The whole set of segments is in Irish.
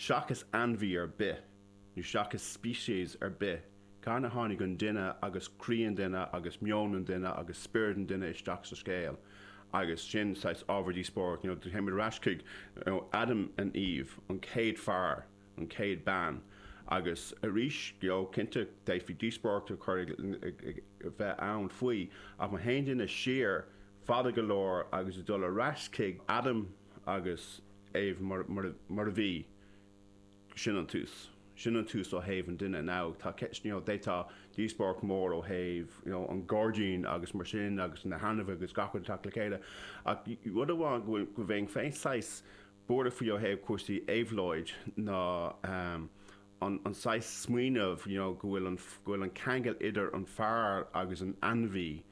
Seachas ainmhí ar bith, nó seachas species ar bith, cathain a tháinig an duine agus croí an duine agus meon an duine agus spiorad an duine isteach sa scéal? Agus sin saghas ábhar díospóireacht, you know, téimid ar ais chuig, you know, Adam and Eve, an chéad fear, an chéad bean. Agus arís, you know, cinnte, d'fhéadfaí díospóireacht a chur ag, ag bheith ann faoi, ach má théann duine siar fada go leor agus ag dul ar ais chuig Adam agus Eve mar, mar, mar a bhí, sin an tús. Sin an tús ó thaobh an duine. Now, tá ceist, you know, d'fhéadfá díospóireacht mór ó thaobh, you know, an gairdín agus mar sin agus na hainmhithe agus gach rud ag teacht le chéile. Ach rud amháin go bhfuil, go bheinn féin saghas buartha faoi ó thaobh cúrsaí éabhlóid ná an, an saghas smaoineamh, you know, go bhfuil an, go bhfuil an ceangal idir an fear agus an ainmhí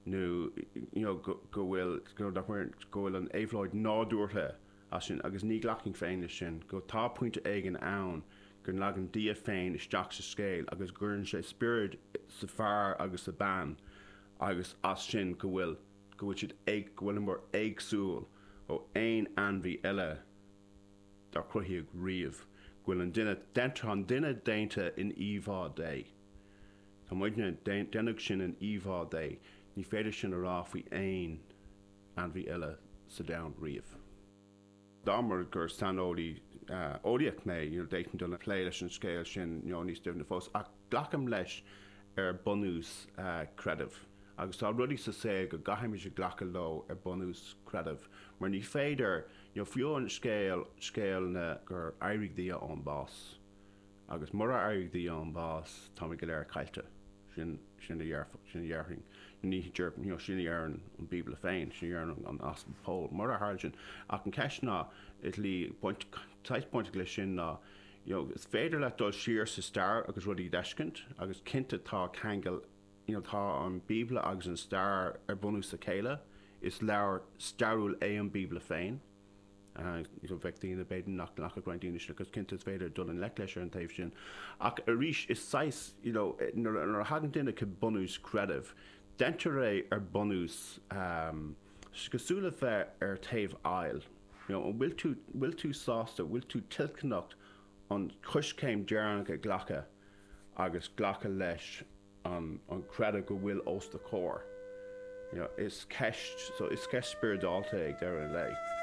nó, you know, go, go bhfuil, go bhfuil an éabhlóid nádúrtha as sin agus ní ghlacfainn féin leis sin, go tá pointe éigin ann go dtagann Dia féin isteach sa scéal agus cuireann sé spiorad sa fear agus sa bean agus as sin go bhfuil, go bhfuil siad ag, go bhfuileamar éagsúil ó aon ainmhí eile dár cruthaíodh riamh, go bhfuil an duine, tá an duine déanta in íomhá Dé. Tá muidne, déanadh sinn in íomhá Dé, ní féidir sin a rá faoi aon ainmhí eile sa domhan riamh. Dá mba gur saineolaí eolaíoch mé, you know, d'fhéadfainn dul ag plé leis an scéal sin, you know, níos doimhne fós, ach glacaim leis ar bunús creidimh. Agus tá rudaí sa saol go gcaithfimid a ghlacadh leo ar bunús creidimh, mar ní féidir, you know, fiú an scéal, scéal na gur éirigh Dia ón bás. Agus murar éirigh Dia ón bás, táimid go léir caillte. Sin, sin a dhéarfadh, sin a dhéarfainn. Ní déarfainn, you know, sin a deireann an Bíobla féin, sin a deireann an Aspal Pól. Murar tharla sin. Ach an ceist ná, is le baint, saghas bainteach leis sin ná, you know, is féidir leat dul siar sa stair agus rudaí a d'fheiscint, agus cinnte tá ceangal, you know, tá an Bíobla agus an stair ar bunús a chéile. Is leabhar stairiúil é an Bíobla féin. Bheadh daoine, b'fhéidir nach nglacfadh roinnt daoine sin agus cinnte is féidir dul i ngleic leis ar an taobh sin. Ach arís is saghas, you know, nuair a thagann duine chuig bunús creidimh, deintear é ar bunús, cosúil le bheith ar taobh aill. You know, an bhfuil tú, bhfuil tú sásta, bhfuil tú toilteanach an choiscéim deireanach a ghlacadh agus glacadh leis an creideamh go bhfuil os do chomhair. You know, is ceist, so is ceist spioradálta é ag deireadh an lae.